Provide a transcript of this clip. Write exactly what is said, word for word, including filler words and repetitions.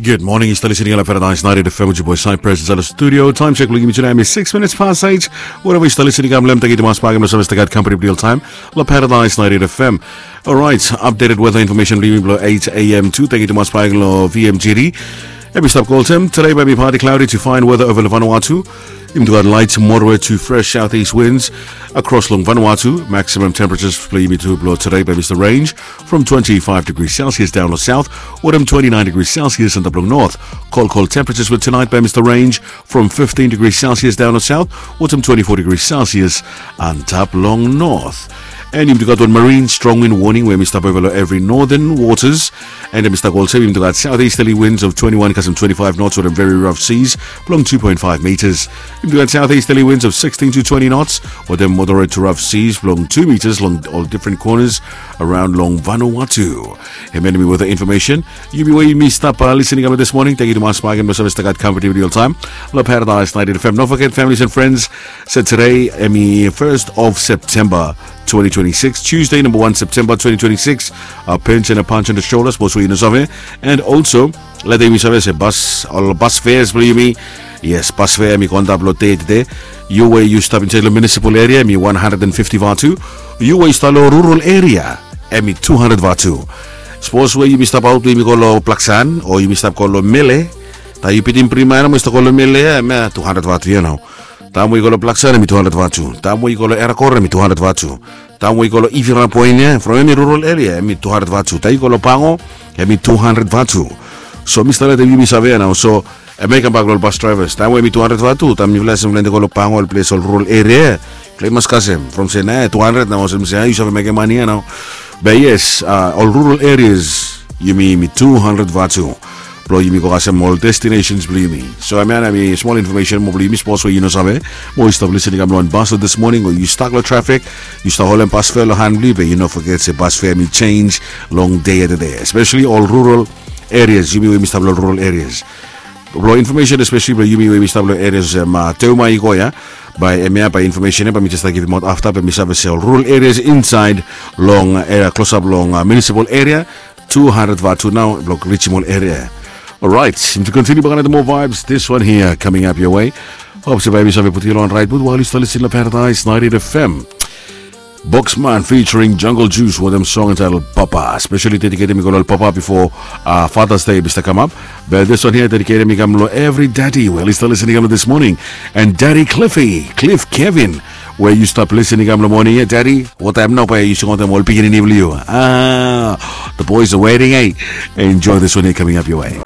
Good morning, yu stap listening long Paradise ninety-eight F M with your boy Cypress inside the studio. Time check blong yumi today is six minutes past eight. Wherever yu stap listening, kam lem, thank you tumas bak long save stay gat company real time long Paradise ninety-eight F M. Alright, updated weather information blong yumi blong eight a m to, thank you tumas bak long V M G D. Em i stap olsem, today bae hemi partly cloudy to fine weather over long Vanuatu. Yumi gat light, moderate to fresh southeast winds across long Vanuatu. Maximum temperatures blong yumi tu blong today bae hemi range from twenty-five degrees Celsius down long south, wetem twenty-nine degrees Celsius antap long north. Cold, cold temperatures with tonight bae hemi range from fifteen degrees Celsius down long south, wetem twenty-four degrees Celsius antap long north. And yumi gat wan marine strong wind warning we hemi stap over long every northern waters. And hemi stap olsem, yumi gat southeasterly winds of twenty-one kasem twenty-five knots wetem very rough seas blong two point five meters. Yumi gat southeasterly winds of sixteen to twenty knots wetem moderate to rough seas blong two meters long all different corners around long Vanuatu. Hemia hemi weather information. Yumi we yumi stap listening kam long this morning, thank you tumas bak long save stay gat company real time long Paradise ninety-eight F M. Don't forget, families and friends, se today hemi first of September twenty twenty-six, Tuesday, number one September twenty twenty-six. A pinch and a punch on the shoulder, sapos we yu no save. And also, leta yumi save se bas, ol bas fares blong yumi. Yes, bas fare hemi go antap long dei tede. Yu we yu stap insaed long municipal area, hemi one hundred and fifty vatu. Yu we yu stap long rural area, hemi two hundred vatu. Sapos we yumi stap aot we yumi go long Blaksan o yumi stap go long Mele, taem yu pitim Prima ia nao mo yu stap go long Mele ia, hemia two hundred vatu ia nao. Taem we yu go long Blaksan, hemi two hundred vatu. Taem we yu go long Erakor, hemi two hundred vatu. Taem we yu go long Ivira Point ia, from hemi rural area, hemi two hundred vatu. Taem yu go long Pango, hemi two hundred vatu. So mi stap letem yumi save ia nao. So hemia i kambak long ol bus drivers. Taem we hemi two hundred vatu, taem mifala i save lende go long Pango, ol ples, ol rural area, mifala i mas kasem from se nae two hundred nao, olsem se yu save mekem mane ia nao. Be yes, a, ol rural areas, yumi, yumi two hundred vatu blong yumi go kasem ol destinations blong yumi. So hemia nao hemi smol information moa blong yumi, sapos we yu no save, mo yu stap listening kam long wan bus this morning, o yu stak long traffic, yu stap holem bus fare long han blong yu, be yu no foget se bus fare hemi change long dei ia tede, especially ol rural areas, yumi we yumi stap long rural areas. Blong information, especially blong yumi we yumi stap long areas olsem, a, Teuma i go ia, bae hemia bae information ia bae mi jes stap givimaot afta, be mi save se ol rural areas insaed long, a, klosap long, a, municipal area, two hundred vatu nao blong rijim ol area. Alright, to continue bak long more vibes, this one here coming up your way. Hope se bae yumi save putum yu long raet mud while yu stap listening long Paradise ninety-eight F M. Boxman featuring Jungle Juice wetem song entitled Papa. Specially dedicated i go long papa bifo, a, Father's Day i stap kamap. Be this one here dedicated i kam long every daddy we oli stap listening kam long this morning. And Daddy Cliffy, Cliff Kevin, we yu stap listening kam long morning ia, Daddy, what time nao bae yu singaot wetem ol pikinini blong yu? A, the boys are waiting, eh? Enjoy this one here coming up your way.